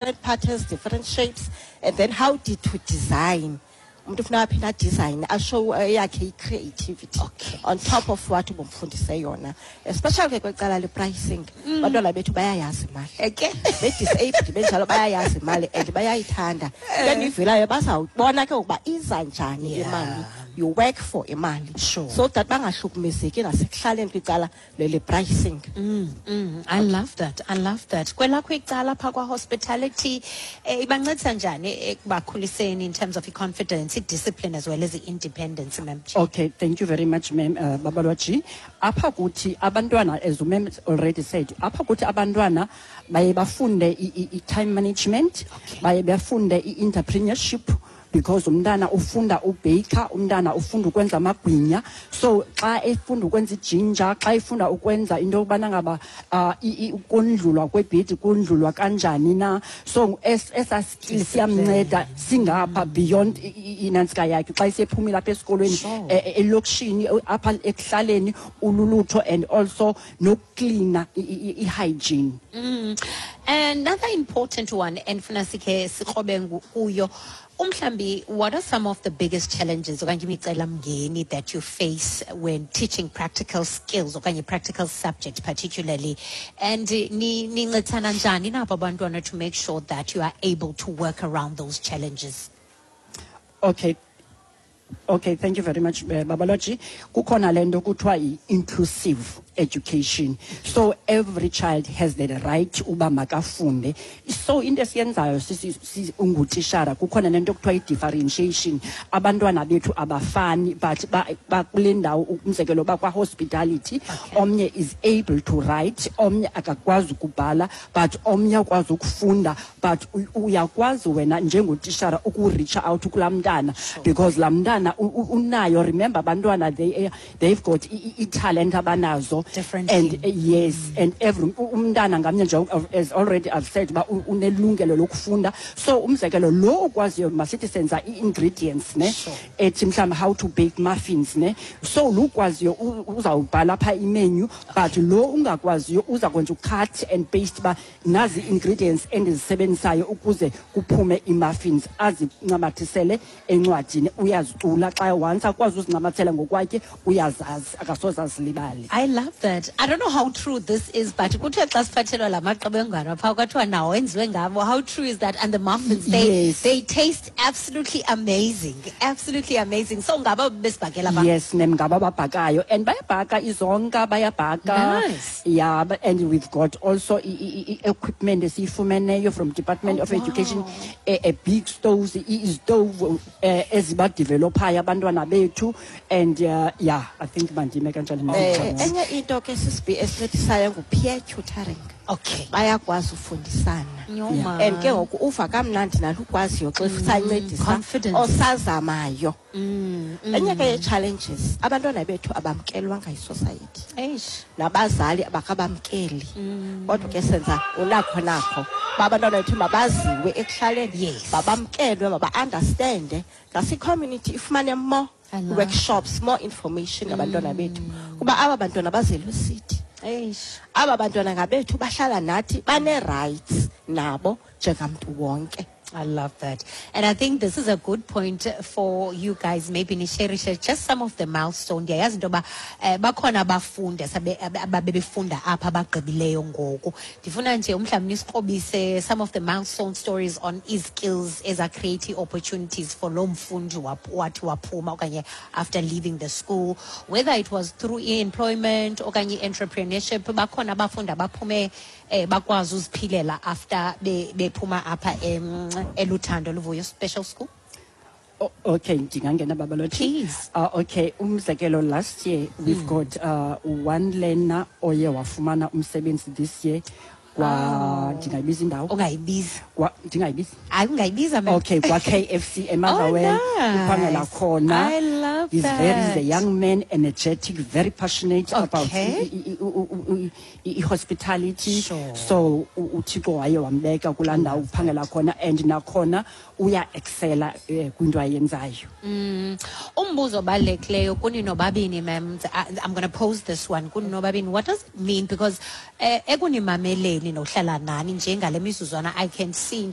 Patterns, different shapes, and then how did to design. Umuntu ufuna aphinda adesign, ashow eyakhe i-creativity on top of what ubumfundise yona, especially ke kwecala le-pricing. Abantwana bethu bayayazi imali. Be-disabled benjalo bayayazi imali and bayayithanda. Into endiyivelayo, bazawubona ke ukuba iza njani imali. You work for imali. So that bangahlukumezeki nasekuhlaleni kwicala lele-pricing. I love that. I love that. Kwelakho icala pha kwa-hospitality, ibancedisa njani ekubakhuliseni in terms of i-confidence, i-discipline as well as i-independence, ma'am? Okay, thank you very much, ma'am. Babalwaji. Apha kuthi abantwana, as ma'am already said, apha kuthi abantwana baye bafunde i-time management, baye bafunde i-entrepreneurship, because umntana ufunda ubhaker, umntana ufunda ukwenza amagwinya. So xa efunda ukwenza ijinja, xa efunda ukwenza into yokubana ngaba ukondlulwa kwebhedi kondlulwa kanjani na, so esa skill siyamnceda singapha beyond inantsika yakhe xa isephumile apha esikolweni, elokishini, apha ekuhlaleni ululutho, and also nokuklina, i-hygiene. Another important one, endifuna sikhe sikrobe kuyo, umhlambi, what are some of the biggest challenges okanye imicelamngeni that you face when teaching practical skills okanye practical subject particularly, and nincedisana njani nabo abantwana to make sure that you are able to work around those challenges? Okay, thank you very much, Babaloji. Kukhona le nto kuthiwa i-inclusive education. So every child has the right uba makafunde. So into esiyenzayo ungutishara, kukhona nento kuthiwa i-differentiation. Abantwana bethu abafani, but bakule ndawo, umzekelo bakwa-hospitality, omnye is able to write, omnye akakwazi ukubhala, but omnye ukwazi ukufunda, but uyakwazi wena njengotishara ukureach out kulaa mntana because laa mntana unayo. Remember, abantwana they've got i-talent abanazo. Differently. And yes, and every umntana ngamnye nje, as already I've said, uba unelungelo lokufunda. So umzekelo, lo ukwaziyo, masithi senza i-ingredients ne, ethi mhlawumbi how to bake muffins ne, so lo ukwaziyo uzawubhala phaa imenu, but lo ungakwaziyo uza kwenza ucut and paste uba nazi ingredients endizisebenzisayo ukuze kuphume ii-muffins, azincamathisele encwadini. Uyazicula xa once akwazi uzincamathela ngokwakhe, uyazazi, akasoze azilibale. I love that. I don't know how true this is, but kuthiwe xa siphathelwa la maqebengwana phaa kwathiwa nawo enziwe ngabo. How true is that? And the muffins, they, they taste absolutely amazing. Absolutely amazing. So ngaba besibhakela ba? Yes, ma'am, ngaba babhakayo, and bayabhaka izonka, bayabhaka. Yeah, but, and we've got also equipment esiyifumeneyo from Department of Education, a big stoves, izitovu ezibadevelophayo abantwana bethu, and yeah, I think mandime kanjalo. Enye into ke sisibi esincedisayo ngu-peer tutoring. Bayakwazi ufundisana. Yho, Yeah. And ke ngoku uva kamnandi nalukwaziyo xa usancedisa Confidence. osazamayo. Enye ke ye-challenges, abantwana bethu abamkelwanga yisociety. Eish. Nabazali abakabamkeli. Kodwa ke senza unakho nakho uba abantwana bethu mabaziwe ekuhlaleni, mabamkelwe, maba-understande, ngasi-community ifumane more I love workshops, more information ngabantwana bethu, kuba aba bantwana bazelwe sithi. Eish. Aba bantwana ngabethu, bahlala nathi, bane-rights nabo njengamntu wonke. I love that. And I think this is a good point for you guys, maybe nisherishe just some of the milestone. Ndiyayazi into yoba bakhona abafundi ababebefunda apha abagqibileyo ngoku. Ndifuna nje umhlawumbi nisikrobise some of the milestone stories on i-skills eza-create opportunities for loo mfundi wathi waphuma okanye after leaving the school, whether it was through i-employment okanye i-entrepreneurship. Bakhona abafundi abaphume bakwazi uziphilela after bephuma apha eLuthando Luvuyo Special School. Oh, okay, ndingangena, Babalothi? Please. Okay, umzekelo, last year we've got one learner oye wafumana umsebenzi this year kwa, ndingayibiza indawo? Ungayibiza. Kwa, ndingayibiza? Hayi, ungayibiza, ma'am. Okay, kwa KFC eMotherwell. Oh, nice. Uphangela khona. I love He's very, he's a that. young man, energetic, very passionate about i-hospitality. So uThixo waye wambeka kulaa ndawo uphangela khona, and nakhona uya-excela kwinto ayenzayo. Umbuzo obalulekileyo kuni nobabini, ma'am. I'm going to pose this one kuni nobabini. What does it mean? Because ekunimameleni nohlala nani njengale mizuzwana, I can see into